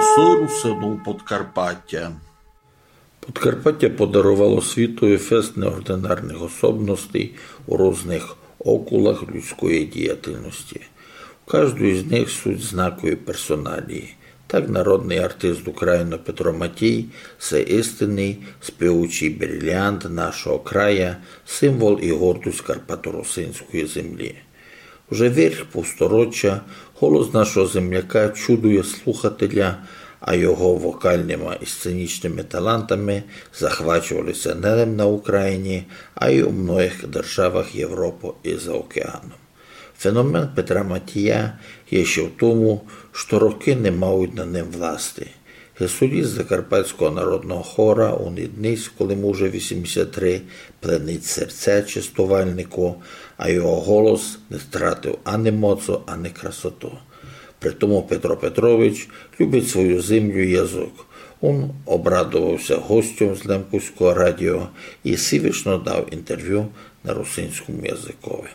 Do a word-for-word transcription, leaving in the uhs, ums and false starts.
Голосы Русинув Подкарпатя. Подкарпатя подаровало світови фест неординарных особностей у рузных окулах людської діятельности. У каждой з них суть знакові персоналії. Так народный артист України Петро Матій — се істинный співучый бриліант нашого края, символ і гордость карпаторусинської землі. Уже вирх півстороча голос нашого земляка чудує слухателя, а його вокалныма і сценічныма талантами захвачовали ся не лем на Україні, а й у многых державах Європы і за океаном. Феномен Петра Матія є ще в тому, што рокы не мають над ним власти. Ги соліст Закарпатського народного хора, ун і днесь, коли му вже вісімдесят три, пленить серця честувальнику, а його голос не втратив ани моцу, ани красоту. При тому Петро Петрович любить свою землю і язык. Ун обрадовав ся гостям з Лемківського радіо і сивішно дав інтервю на русинському языкови.